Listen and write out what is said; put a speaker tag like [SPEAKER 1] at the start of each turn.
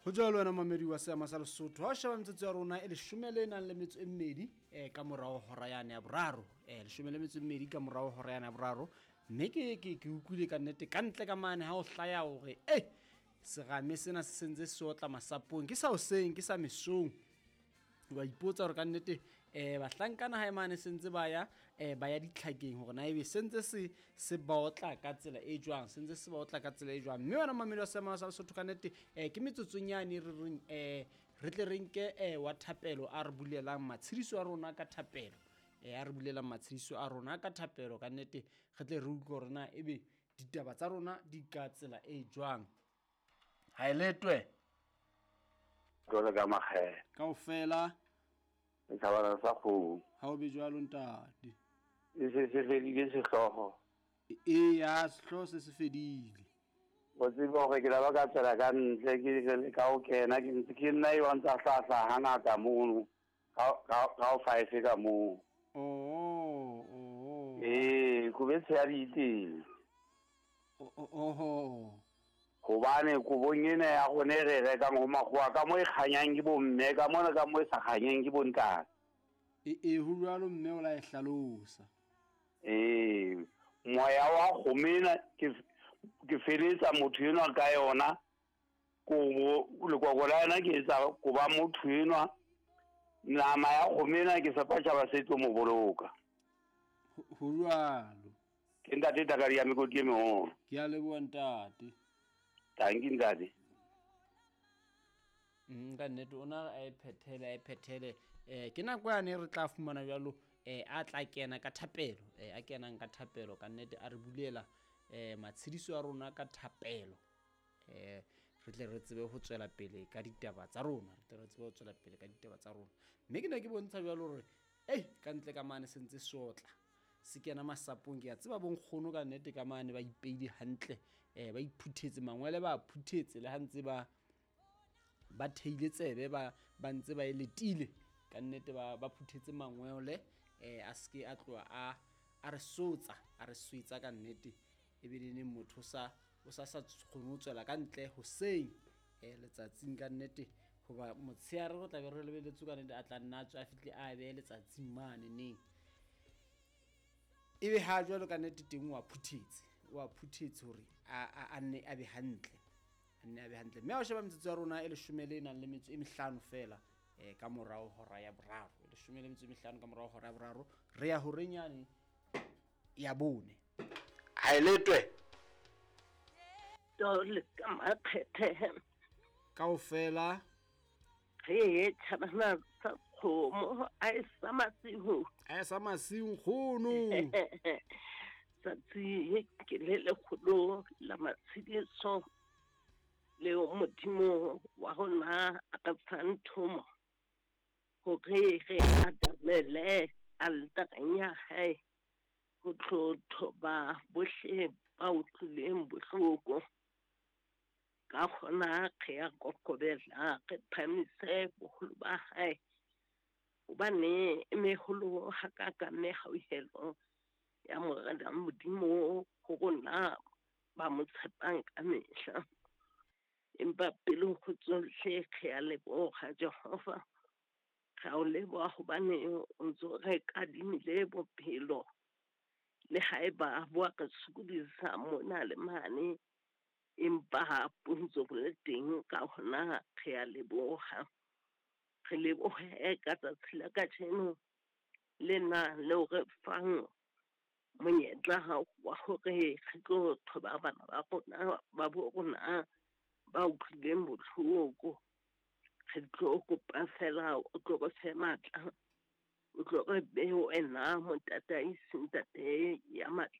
[SPEAKER 1] Ho jwalo wena mamedi wa seama sa Lesotho, ha o sheba metsotso ya rona e leshome le nang le metso e mmedi ka morao hora yane ya boraro, leshome le metso e mmedi ka morao hora yane ya boraro. Mme ke utlwile ka nnete ka ntle ka mane ha o hlaya hore serame sena se sentse se otla masapong, ke sa hoseng, ke sa mesong. Wa ipotsa hore ka nnete bahlankana hae mane sentse ba ya ba ya ditlhakeng hore na ebe sentse se ba otla ka tsela e jwang, sentse se ba otla ka tsela e jwang. Mme wena mamedi wa seama sa Lesotho, ka nnete ke metsotsong yane re reng re tle re nke wa thapelo a re bulelang matshediso a rona ka thapelo, a re bulelang matshediso a rona ka thapelo. Ka nnete re tle re utlwe hore na ebe ditaba tsa rona di ka tsela e jwang. Ha e letwe
[SPEAKER 2] jwale ka makgele
[SPEAKER 1] kaofela
[SPEAKER 2] setjhabana sa kgomo.
[SPEAKER 1] Ha o be jwalo ntate.
[SPEAKER 2] E se se fedile sehlooho.
[SPEAKER 1] Eya, sehlooho se se fedile.
[SPEAKER 2] O tsebe hore ke la ba ka tswela ka ntle, ke re ka o kena, ke ntse ke nna eo a ntsa hlahla hangata mono ka o five ka moo.
[SPEAKER 1] Oh.
[SPEAKER 2] Ee, kobe tshehadi e teng.
[SPEAKER 1] Oho.
[SPEAKER 2] Hobane kobong ena ya rona e re rekang ho makgowa, ka moo e kganyang ke bomme, ka mona ka moo e sa kganyeng ke bontate.
[SPEAKER 1] E ho jwalo mme o la e hlalosa.
[SPEAKER 2] Ee, moya wa kgomo ena ke feletsa motho enwa ka yona, kobo lekoko la yona ke etsa koba motho enwa, nama ya kgomo ena ke sepa tjhaba se tlo mo boloka.
[SPEAKER 1] Ho jwalo.
[SPEAKER 2] Ke ntate Takadi ya mekoti e meholo.
[SPEAKER 1] Ke a leboha ntate.
[SPEAKER 2] Tanki ntate.
[SPEAKER 1] Ka nnete o na a e phethele, a e phethele. Ke nako yane re tla fumana jwalo, a tla kena ka thapelo, a kenang ka thapelo ka nnete a re bulela matshediso a rona ka thapelo. Re tle re tsebe ho tswela pele ka ditaba tsa rona, re tle re tsebe ho tswela pele ka ditaba tsa rona. Mme ke ne ke bontsha jwalo hore ka ntle ka mane se ntse se otla, se kena masapong. Ke a tseba bonkgono ka nnete ka mane ba ipeile hantle, ba iphuthetse mangwele, ba phuthetse le ha ntse ba theile tsebe, ba ntse ba e letile ka nnete, ba phuthetse mangwele, a seke a tloha a re sotsa, a re swetsa ka nnete. Ebile neng motho o sa kgone ho tswela ka ntle hoseng, letsatsing ka nnete, hoba motshehare re tla be re lebeletse ka nnete a tla nna a tswe a fihle a behe letsatsing mane neng. Ebe ha jwalo ka nnete teng o a phuthetse, o a phuthetse hore a nne a be hantle, a nne a be hantle. Mme ha o sheba metsotso ya rona e leshome le nang le metso e mehlano fela, ka morao hora ya boraro, e leshome le metso e mehlano ka morao hora ya boraro, re ya horeng yane ya bone. Ha e letwe.
[SPEAKER 3] Tole ka makgethe.
[SPEAKER 1] Kaofela.
[SPEAKER 3] Re tjhabana sa kgomo, a e sa masiu.
[SPEAKER 1] A e sa masiu nkgono.
[SPEAKER 3] Tsatsi ke le lekgolo la matshediso leo Modimo wa rona a ka fang thomo hore re atamele altareng ya hae ho tlo thoba bohle ba utlwileng bohloko. Ka hona re ya kokobela, re phahamise boholo ba hae, hobane e meholo hakakang mehauhelo ya Morena Modimo ho rona ba mo tshepang ka mehla. Empa pele ho tsohle re a leboha Jehova, re a o leboha hobane o ntso re kadimile bophelo, le haeba bo a re sokodisa mona le mane, empa bo ntso bo le teng. Ka hona re a leboha, re lebohe ka tsatsi la kajeno lena leo re fang monyetla wa hore re tlo thoba bana ba rona ba bo rona ba utlwileng bohloko. Re tlo kopa fela o tlo re fe matla, o tlo re behe wena motataisi, ntate ya matla.